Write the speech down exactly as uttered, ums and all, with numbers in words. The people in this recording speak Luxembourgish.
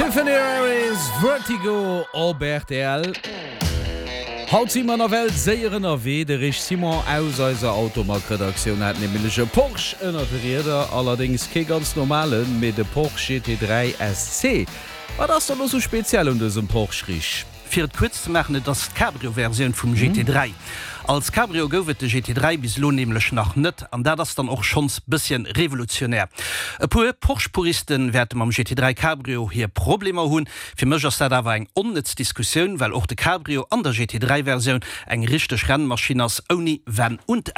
Tiffany Harris, Vertigo op R T L. Haut si mer nawell séier ënnerwee. De Rich Simon aus eiser Automag-Redaktioun hat nämlech e Porsche ënner de Rieder, allerdéngs kee ganz normalen, mee de Porsche G T dräi S C. Wat ass dann sou speziell un dësem Porsche, Rich? Fir et kuerz ze maachen, et ass d'Cabrio-Versioun vum G T dräi. Als Cabrio gouf et de G T dräi bis elo nämlech nach net, an dat ass dann och schonns bësschen revolutionär. E puer Porsche-Puriste wäerte mam G T dräi Cabrio hir Problemer hunn. Fir mech ass dat awer eng onnëtz Diskussioun, well och de Cabrio an der G T dräi-Versioun eng richteg Rennmaschinn ass, ouni Wenn und